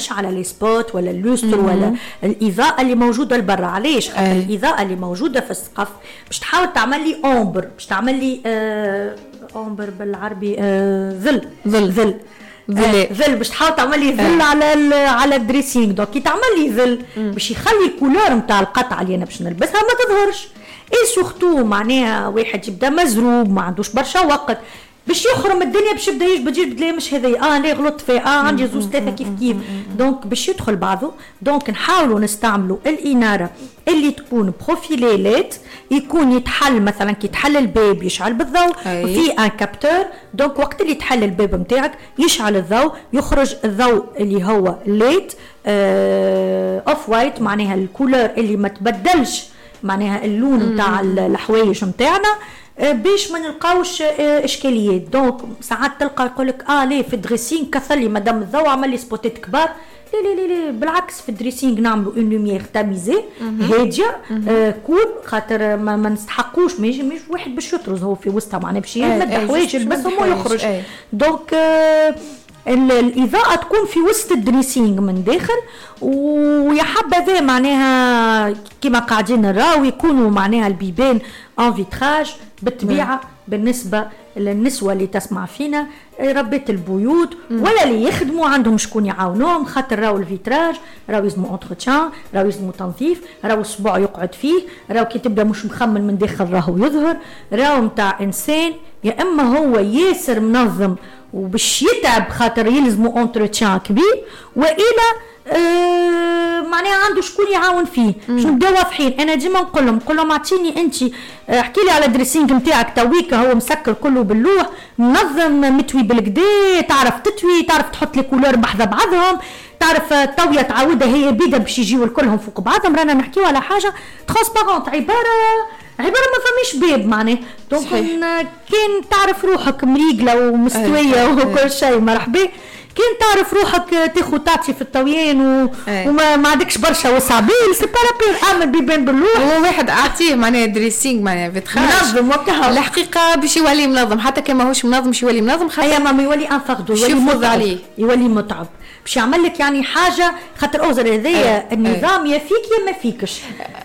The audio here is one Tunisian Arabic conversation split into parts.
تاثرش على les spots ولا ال lustre ولا الاضاءة اللي موجودة لبرا. علاش؟ خاطر الاضاءة اللي موجودة في السقف باش تحاول تعمل لي ombre، باش تعمل لي ombre بالعربي ظل، ظل، ظل، ظل، باش تحاول تعمل لي ظل على ال dressing. donc كي تعمل لي ظل باش يخلي ال couleur نتاع القطعة اللي انا باش نلبسها ما تظهرش. et surtout معناها واحد يبدا مزروب، ما عندوش برشا وقت باش يخرم الدنيا، باش يبدا يجبد يجبد، لا مش هذايا، لا غلطت فيه، عندي زوز ثلاثة كيف كيف، donc باش يدخل بعضه. donc نحاولوا نستعملوا الاناره اللي تكون profilée LED، يكون يتحل مثلا كي تحل الباب يشعل بالضوء، في un capteur، donc وقت اللي تحل الباب نتاعك يشعل الضوء، يخرج الضوء اللي هو LED off white، معناها ال couleur اللي ما تبدلش معناها اللون نتاع الحوايج نتاعنا، باش ما نلقاوش اشكاليات. donc ساعات تلقى يقول لك ليه في ال dressing كثر لي مادام الضوء عمل لي spot ات كبار. لا لا لا لا، بالعكس، في ال dressing نعملوا une lumière tamisée هاديه، cool، خاطر ما نستحقوش، مش واحد باش يطرز هو في وسطها، معناها باش يمد حوايج يلبسهم ويخرج. donc الإضاءة تكون في وسط ال dressing من داخل، ويا حبذا معناها كما قاعدين نراو يكونوا معناها البيبان en vitrage. بالطبيعة بالنسبة للنسوة اللي تسمع فينا ربات البيوت ولا اللي يخدموا عندهم شكون يعاونوهم، خاطر راهو ال vitrage راهو يلزمو entretien، راهو يلزمو تنظيف، راهو الصبع يقعد فيه، راهو كي تبدا مش مخمل من داخل راهو يظهر، راهو نتاع انسان يا اما هو ياسر منظم وباش يتعب خاطر يلزمو entretien كبير، والا معناها عنده شكون يعاون فيه. باش نبداو واضحين، انا ديما نقول لهم اعطيني انت، احكي لي على dressing نتاعك تويكا هو مسكر كله باللوح، منظم، متوي بالكدا، تعرف تتوي، تعرف تحط les couleurs بحذا بعضهم، تعرف الطاويه تعاودها هي بيدا باش يجيو الكلهم فوق بعضهم. رانا نحكيو على حاجة transparente، عباره ما فماش باب معناه. donc كان تعرف روحك مريقله ومستويه وكل شيء مرحبا، كان تعرف روحك تاخذ تعطي في الطويان وما ما عندكش برشا وسع بال، c'est pas la peine، اعمل بيبان باللوح. هو واحد اعطيه معناها dressing معناها vitrage منظم وكهو، الحقيقة باش يولي منظم، حتى كان ماهوش منظم باش يولي منظم، خاطر ما يولي un fardeau، يولي متعب عليه، يولي متعب باش يعمل لك يعني حاجه، خاطر اوزر هذايا النظام يا فيك يا ما فيكش،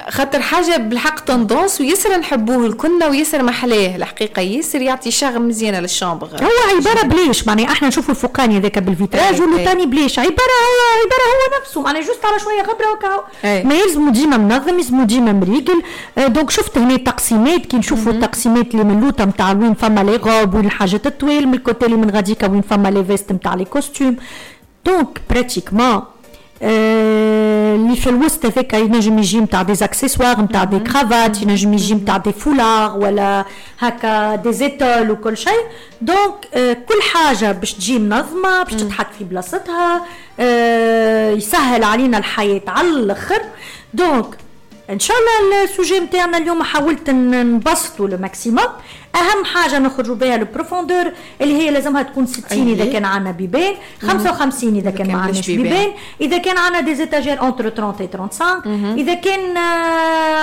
خاطر حاجة بالحق tendance وياسر نحبوه الكلنا وياسر محلاه الحقيقه، ياسر يعطي charme مزيانه لل chambre. هو عبارة بليش معناها احنا نشوفوا الفوقاني هذاك بال vitrage واللوتاني بليش، عباره هو نفسه معناها juste على شوية غبرة وكاو، ما يلزمو ديما منظم، يلزمو ديما مريقل. donc شفت هنا التقسيمات، كي نشوفوا التقسيمات اللي من لوطه نتاع وين فما les robes وين الحاجات الطويل، من ال côté اللي من غاديكا وين فما les vestes نتاع les costumes. donc pratiquement اللي في الوسط هذاك ينجم يجي نتاع des accessoires، نتاع des cravates، ينجم يجي نتاع des foulards ولا هكا des étoiles وكل شيء. donc كل حاجة باش تجي منظمه، باش تتحط في بلاصتها، يسهل علينا الحياة على الاخر. donc ان شاء الله ال sujet نتاعنا اليوم حاولت نبسطه le maximum. اهم حاجة نخرجوا بها ال profondeur اللي هي لازمها تكون 60 اذا كان عندنا بيبان، 55 اذا كان ما عندناش بيبان، اذا كان عندنا des étagères entre 30 et 35، اذا كان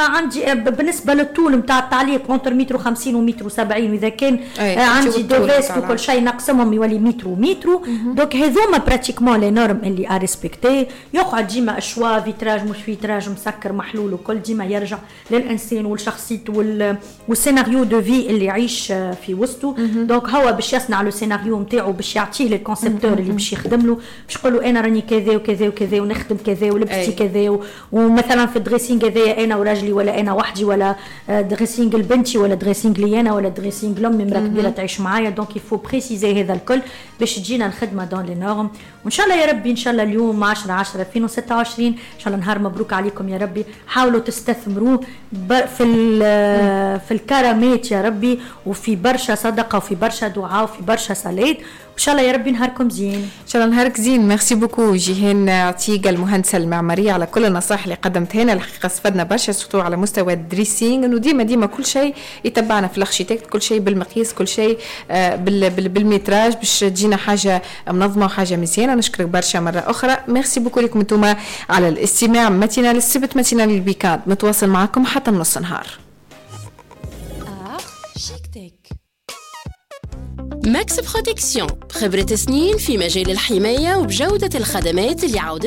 عندي بالنسبة للطول نتاع التعليق entre متر 50 ومتر 70، واذا كان عندي des vestes وكل شيء نقسمهم يولي متر ومتر. donc هذوما pratiquement les normes اللي à respecter. يقعد ديما ال choix vitrage مش vitrage، مسكر محلول وكل، ديما يرجع للانسان ولشخصيته وال scénario de vie اللي يعيش في وسطه. donc هو باش يصنع le scénario نتاعو، باش يعطيه لل concepteur اللي باش يخدم له، باش يقول له انا راني كذا وكذا وكذا ونخدم كذا ولبستي كذا، ومثلا في ال dressing هذايا انا وراجلي ولا انا وحدي، ولا dressing لبنتي ولا dressing لي انا ولا dressing لامي مرا كبيرة تعيش معايا. donc il faut préciser هذا الكل باش تجينا الخدمة dans les normes. وان شاء الله يا ربي، ان شاء الله اليوم 10 10 2026، ان شاء الله نهار مبروك عليكم يا ربي. حاولوا تستثمروه في الكرامات يا ربي، وفي برشا صدقه وفي برشا دعاء وفي برشا صلاه. ان شاء الله يا ربي نهاركم زين. ان شاء الله نهارك زين. merci beaucoup جيهان عتيقة المهندسه المعمارية على كل النصائح اللي قدمتها لنا. الحقيقة استفدنا برشا surtout على مستوى ال dressing، انه ديما ديما كل شيء يتبعنا في ال architecte، كل شيء بالمقياس، كل شيء بال métrage باش تجينا حاجة منظمة وحاجه مزيانه. نشكرك برشا مرة اخرى. merci beaucoup لكم انتم على الاستماع. matinale السبت، matinale ال week-end متواصل معكم حتى نص نهار. Architecte Max Protection، خبرة سنين في مجال الحماية وبجودة الخدمات اللي عودت